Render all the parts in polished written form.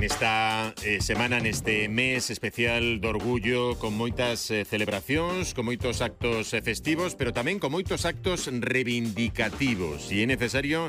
Nesta semana, neste mes especial do orgullo, con moitas celebracións, con moitos actos festivos, pero tamén con moitos actos reivindicativos. E é necesario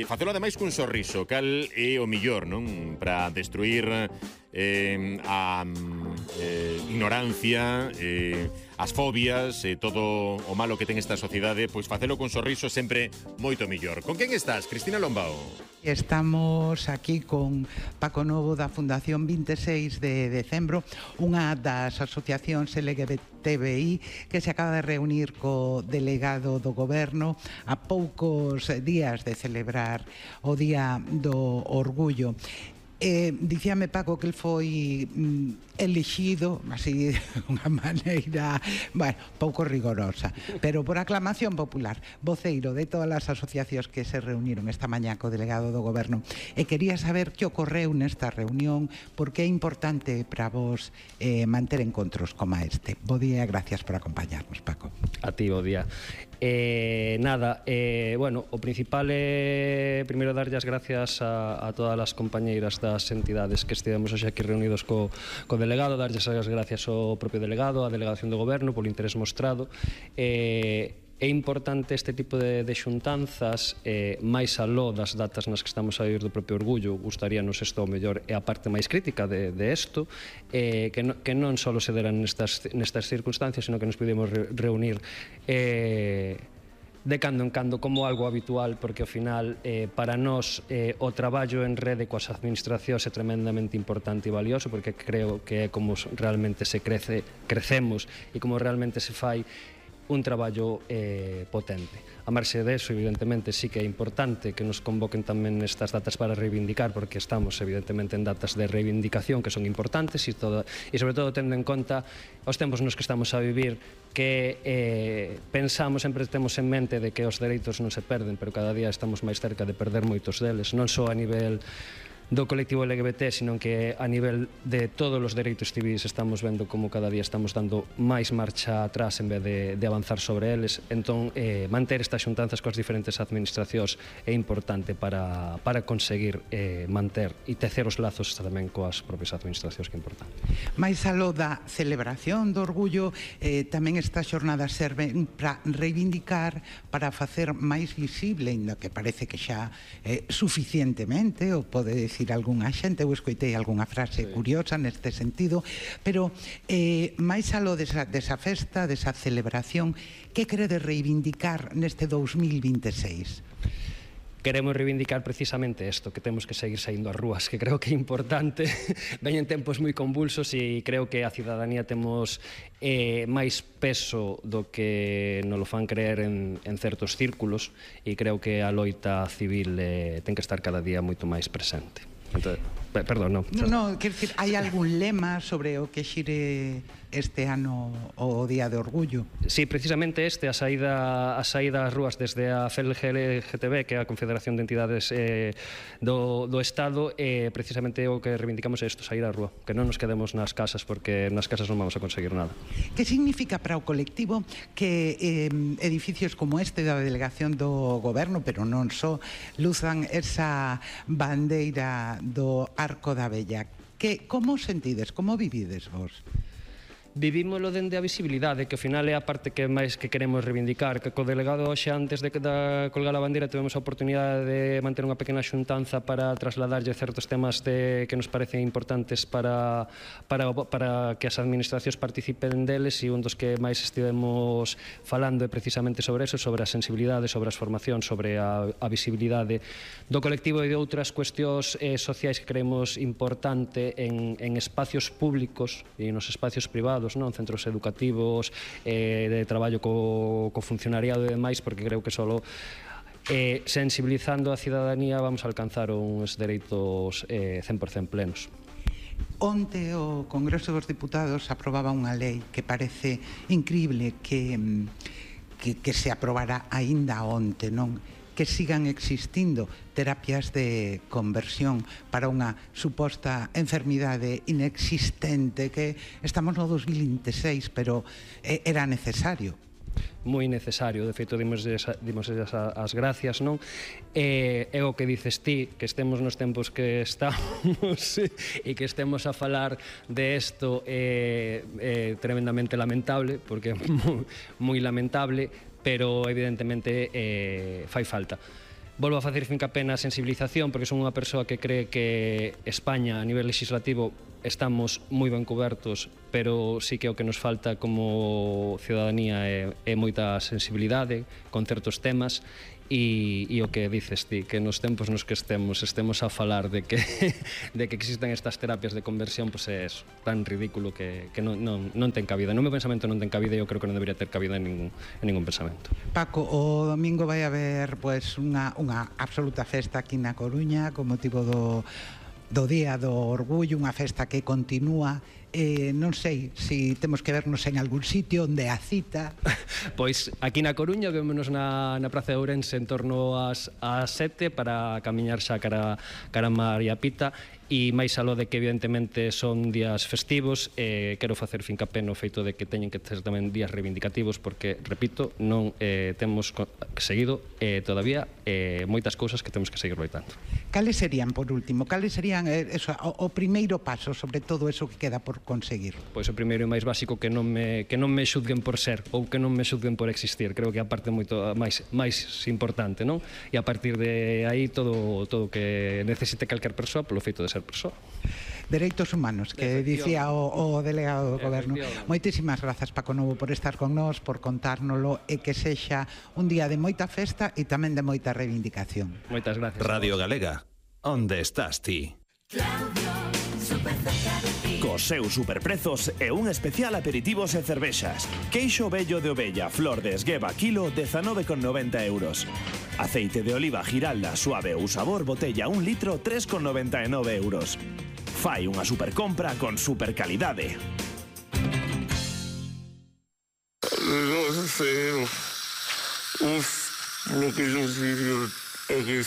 facelo ademais cun sorriso, cal é o millor, non? Para destruir a ignorancia, as fobias, todo o malo que ten esta sociedade, pois facelo cun sorriso sempre moito millor. Con quen estás, Cristina Lombao? Estamos aquí con Paco Novo da Fundación 26 de Decembro, unha das asociacións LGBTBI que se acaba de reunir co delegado do goberno a poucos días de celebrar o Día do Orgullo. Dicíame Paco que el foi elixido así de unha maneira, bueno, pouco rigorosa, pero por aclamación popular, voceiro de todas as asociacións que se reuniron esta mañá co delegado do goberno. E quería saber que ocorreu nesta reunión, porque é importante para vos manter encontros como este. Bo día e gracias por acompañarnos, Paco. A ti, bo día. Bueno, o principal é primeiro darlle as gracias a todas as compañeiras das entidades que estivemos hoxe aquí reunidos co delegado, darlle as gracias ao propio delegado, á delegación do goberno polo interés mostrado. É importante este tipo de xuntanzas, máis aló das datas nas que estamos a vivir do propio orgullo. Gustaríanos isto ao mellor é a parte máis crítica de isto, que non só se deran nestas circunstancias, sino que nos podemos reunir de cando en cando como algo habitual, porque ao final para nós o traballo en rede coas administracións é tremendamente importante e valioso, porque creo que é como realmente se crecemos e como realmente se fai un traballo potente. A marxe deso, evidentemente, sí que é importante que nos convoquen tamén estas datas para reivindicar, porque estamos, evidentemente, en datas de reivindicación que son importantes e sobre todo tendo en conta os tempos nos que estamos a vivir, que pensamos, sempre temos en mente de que os dereitos non se perden, pero cada día estamos máis cerca de perder moitos deles, non só a nivel do colectivo LGBT, sino que a nivel de todos os dereitos civis estamos vendo como cada día estamos dando máis marcha atrás en vez de avanzar sobre eles. Entón, manter estas xuntanzas coas diferentes administracións é importante para conseguir manter e tecer os lazos tamén coas propias administracións, que é importante. Mais aló da celebración do orgullo, tamén estas xornadas serven para reivindicar, para facer máis visible, ainda que parece que xa suficientemente, ou pode decir algunha xente, eu escoitei algunha frase curiosa neste sentido, pero máis aló desa festa, desa celebración, que queredes reivindicar neste 2026? Queremos reivindicar precisamente isto, que temos que seguir saindo ás rúas, que creo que é importante. Veñen tempos moi convulsos e creo que a cidadanía temos máis peso do que nos lo fan creer en certos círculos, e creo que a loita civil ten que estar cada día moito máis presente. Entonces, perdón, non. Non, quer dizer, hai algún lema sobre o que xire este ano o Día de Orgullo? Sí, precisamente a saída ás rúas desde a FELGLGTB, que é a Confederación de Entidades do Estado, precisamente o que reivindicamos é isto, sair á rúa, que non nos quedemos nas casas, porque nas casas non vamos a conseguir nada. Que significa para o colectivo que edificios como este da delegación do goberno, pero non só, luzan esa bandeira do Arco da Vella? Como sentides, como vivides vos? Vivímoslo dende a visibilidade, que ao final é a parte que máis que queremos reivindicar, que co delegado hoxe, antes de colgar a bandeira, tivemos a oportunidade de manter unha pequena xuntanza para trasladarlle certos temas que nos parecen importantes para que as administracións participen deles, e un dos que máis estivemos falando é precisamente sobre eso, sobre a sensibilidade, sobre as formacións, sobre a visibilidade do colectivo e de outras cuestións sociais que creemos importante en espacios públicos e nos espacios privados, centros educativos, de traballo co funcionariado e demais, porque creo que solo sensibilizando a cidadanía vamos a alcanzar uns dereitos 100% plenos. Onte o Congreso dos Diputados aprobaba unha lei que parece incrible que se aprobara aínda onte, non? Que sigan existindo terapias de conversión para unha suposta enfermidade inexistente, que estamos no 2026, pero era necesario. moi necesario. De feito, dimos as gracias, non? É o que dices ti, que estemos nos tempos que estamos e que estemos a falar de isto é tremendamente lamentable, porque é moi lamentable, pero evidentemente fai falta. Volvo a facer fincapé na sensibilización, porque son unha persoa que cree que España, a nivel legislativo, estamos moi ben cobertos, pero sí que o que nos falta como ciudadanía é moita sensibilidade con certos temas, e o que dices ti, que nos tempos nos que estemos a falar de que existen estas terapias de conversión, pois é tan ridículo que non ten cabida. No meu pensamento non ten cabida, e eu creo que non debería ter cabida en ningún pensamento. Paco, o domingo vai haber unha absoluta festa aquí na Coruña con motivo do Día do Orgullo, unha festa que continúa. Non sei se temos que vernos en algún sitio onde a cita. Pois aquí na Coruña vémonos na Praza de Ourense en torno ás 7 para camiñar xa cara María Pita. E máis aló de que evidentemente son días festivos, quero facer fincapé no feito de que teñen que ser tamén días reivindicativos, porque, repito, non temos seguido todavía moitas cousas que temos que seguir loitando. Cales serían, por último, o primeiro paso sobre todo eso que queda por conseguir? Pois o primeiro e máis básico, que non me xudguen por ser ou que non me xudguen por existir. Creo que a parte moito máis importante, non? E a partir de aí todo o que necesite calquer persoa polo feito de ser persoa. Dereitos humanos, que dicía o delegado do Goberno. Moitísimas grazas, Paco Novo, por estar con nós, por contárnolo, e que sexa un día de moita festa e tamén de moita reivindicación. Moitas gracias. Radio Galega, onde estás ti? Cos seus superprezos e un especial aperitivos e cervexas. Queixo vello de ovella, flor de esgueva, kilo, 19,90 euros. Aceite de oliva Giralda, suave ou sabor, botella 1 litro, 3,99 euros. Fai unha supercompra con supercalidade. No sé. Lo que yo digo é que...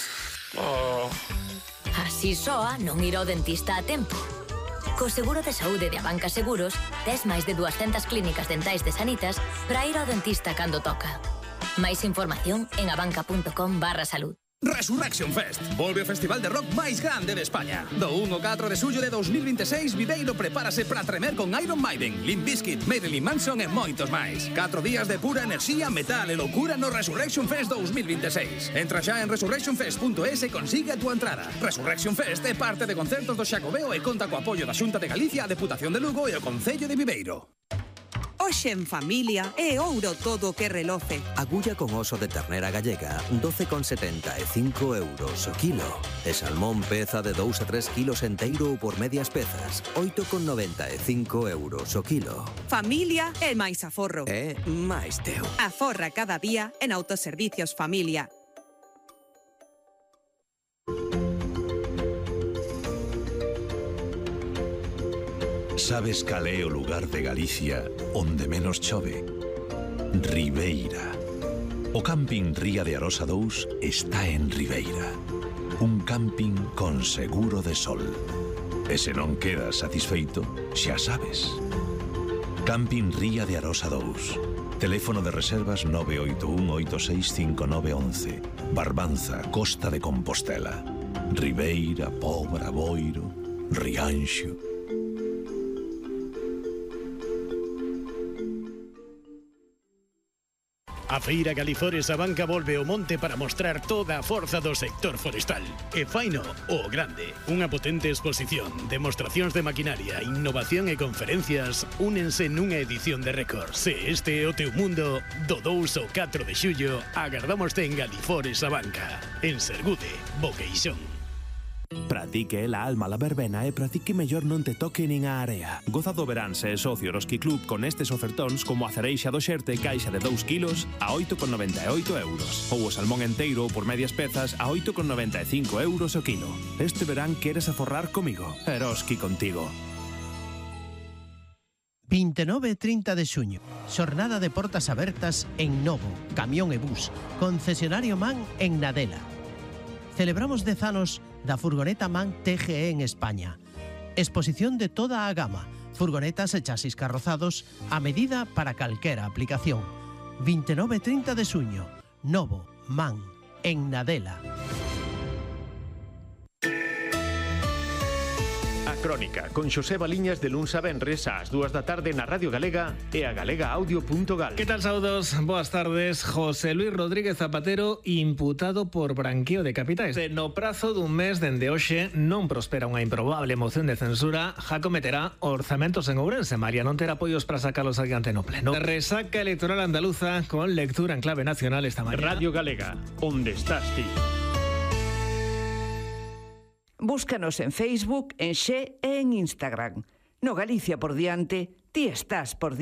Así soa non ir ao dentista a tempo. Co seguro de saúde de Abanca Seguros, tes máis de 200 clínicas dentais de Sanitas para ir ao dentista cando toca. Máis información en abanca.com/salud. Resurrection Fest, volve o festival de rock máis grande de España. Do 1 ao 4 de xullo de 2026, Viveiro prepárase para tremer con Iron Maiden, Limp Bizkit, Marilyn Manson e moitos máis. 4 días de pura enerxía, metal e loucura no Resurrection Fest 2026. Entra xa en resurrectionfest.es e consigue a túa entrada. Resurrection Fest é parte de concertos do Xacobeo e conta co apoio da Xunta de Galicia, a Deputación de Lugo e o Concello de Viveiro. Hoxe en familia é ouro todo o que reloce. Agulla con oso de ternera gallega, 12,75 euros o kilo. E salmón peza de 2 a 3 kilos enteiro ou por medias pezas, 8,95 euros o kilo. Familia é máis aforro. É máis teu. Aforra cada día en Autoservicios Familia. Sabes cal é o lugar de Galicia onde menos chove? Ribeira. O camping Ría de Arosa 2 está en Ribeira. Un camping con seguro de sol. E se non quedas satisfeito, xa sabes. Camping Ría de Arosa 2. Teléfono de reservas 981865911. Barbanza, Costa de Compostela. Ribeira, Pobra, Boiro, Rianxo. A Feira Galifores Abanca volve ao monte para mostrar toda a forza do sector forestal. E faino o grande. Unha potente exposición, demostracións de maquinaria, innovación e conferencias únense nunha edición de récord. Se este é o teu mundo, do 2 ao 4 de xullo, agardámoste en Galifores Abanca. En Sergude, Boqueixón. Pratique la alma la verbena e pratique mellor non te toque nin a area. Goza do verán se é socio Roski Club con estes ofertóns como a cereixa do xerte caixa de 2 kilos a 8,98 euros. Ou o salmón enteiro por medias pezas a 8,95 euros o kilo. Este verán queres aforrar comigo. Eroski contigo. 29 e 30 de xuño, xornada de portas abertas en Novo, Camión e Bus, concesionario MAN en Nadela. Celebramos 10 anos da furgoneta MAN TGE en España. Exposición de toda a gama, furgonetas e chasis carrozados a medida para calquera aplicación. 29 e 30 de xuño. Novo, Man, en Nadela. A Crónica, con Xosé Baliñas de luns a venres ás 2 da tarde na Radio Galega e a galegaaudio.gal. Que tal, saudos? Boas tardes. José Luis Rodríguez Zapatero imputado por branqueo de capitais. No prazo dun mes dende hoxe non prospera unha improbable moción de censura, já cometerá orzamentos en Ourense. María non terá apoios para sacalos adiante no pleno. Resaca electoral andaluza con lectura en clave nacional esta mañana. Radio Galega, onde estás ti? Búscanos en Facebook, en Xe e en Instagram. No Galicia por diante, ti estás por diante.